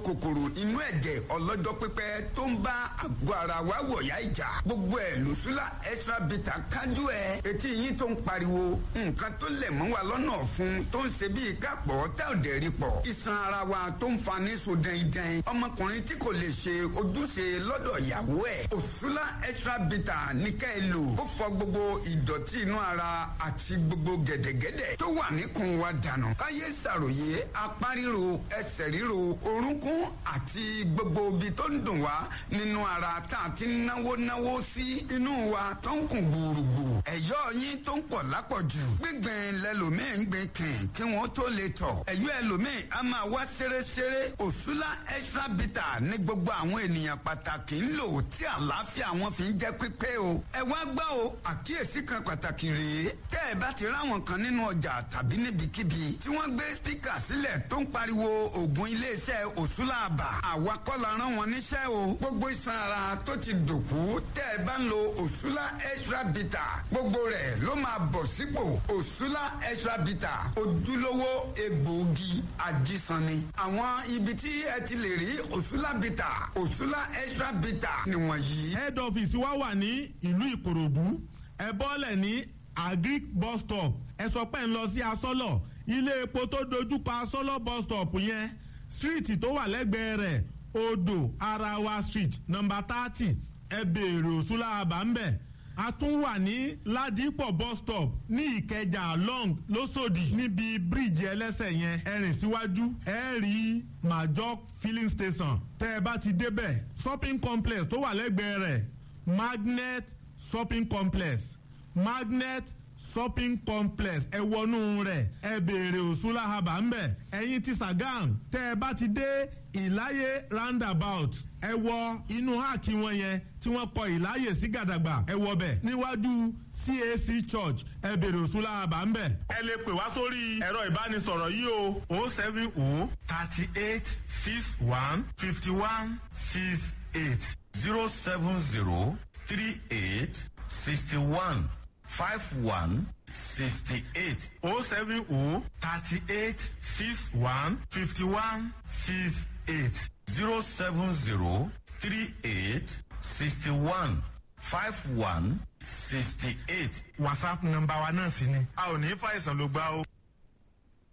kòkòrò inú ẹ̀jẹ̀ ọlọ́jọ́ pípẹ́ tó ń bá àgọ́ ara wa wọ̀yá ìjà, gbogbo ẹ̀ lòṣùlá extra bitter kájú ẹ̀. Etí yín tó ń pariwo, nǹkan tó lẹ̀ mọ́ wa lọ́nà ọ̀fun tó ń ṣe bíi kápọ̀ tá ò dẹ̀ rí pọ̀, iṣan ara wa tó ń fa ní so dẹ́ndẹ́n, ọmọkùnrin tí kò lè ṣe ojúṣe lọ́dọ̀ ìyàwó ẹ̀, òṣùlá extra bitter ní ká ẹ lò. Ó fọ gbogbo ìdọ̀tí inú ara àti gbogbo gẹ̀dẹ̀gẹ̀dẹ̀ tó wà níkùn wa dànù. Káyé ṣàròyé apá ríro, ẹsẹ̀ ríro, orúnkún àti gbogbo ibi tó ń dùn wá nínú ara tá a ti náwó náwó sí inú wa tó ń kùn gbùrùgbù, ẹ̀yọ́ yín tó ń pọ̀ lápọ̀jù, gbígbìn lẹ́lòmíì ń gbìn kìn kí wọ́n tó lè tọ̀, ẹ̀yọ́ ẹlòmíì á máa wá ṣeréṣeré. Òṣùlá extra bitter ní gbogbo àwọn ènìyàn pàtàkì ń lò tí àlàáfíà wọn fi ń jẹ́ pípé o. Ẹ wá gbọ́ o, àkíyèsí kan pàtàkì rèé: tẹ́ ẹ bá ti ráwọn kan nínú ọjà tàbí níbikíbi tí wọ́n gbé spíkà sílẹ̀ tó ń pariwo oògùn iléeṣẹ́ òṣùlá àbà, àwa kọ́ la rán wọn níṣẹ́ o. Gbogbo iṣan ara tó ti dòkú, tẹ́ ẹ bá ń lo òṣùlá extra bitter, gbogbo rẹ̀ ló máa bọ̀ sípò. Òṣùlá extra bitter, ojúlówó egbòogi ajísanni. Àwọn ibi tí ẹ ti lè rí òṣùlá bitter, òṣùlá extra bitter nìwọ̀nyí. Head office wa wà ní ìlú Ìkòròdú. Ẹ bọ́lẹ̀ ní Agric bus stop, ẹ sọ pé ń lọ sí Asọ́lọ̀, ilé epo tó dojúkọ Asọ́lọ̀ bus stop yẹn, street tó wà lẹ́gbẹ̀ẹ́ rẹ̀, Odò Arawa Street, number 30. Ẹ béèrè Òṣùlá àbá ń bẹ̀. A tún wà ní Ládìpọ̀ bus stop ní Ìkẹjà long lọ́sọ̀dì, níbi bíríìjì ẹlẹ́sẹ̀ yẹn, ẹ rìn síwájú, ẹ rí Major filling station. Tẹ́ ẹ bá ti débẹ̀, shopping complex tó wà lẹ́gbẹ̀ẹ́ rẹ̀, Magnet shopping complex, Magnet shopping complex, ẹ wọnú rẹ̀, ẹ béèrè Òṣùlá haba ń bẹ̀. Ẹ̀yin ti Sàgán, tẹ́ ẹ bá ti dé Ìláyé roundabout, ẹ wọ inú háàkì wọn yẹn tí wọ́n kọ Ìláyè sí gàdàgbà, ẹ wọ bẹ̀ níwájú CAC church, ẹ béèrè Òṣùlá haba ń bẹ̀. Ẹ lè pè wá sórí ẹ̀rọ ìbánisọ̀rọ̀ yìí o: 070 38 61 51 68. 070 38 61 51 68. 070 38 61 51 68. 070 38 61 51 68. WhatsApp nọ́mbà wa náà sì ni. A ò ní fàìsàn ló gbá o.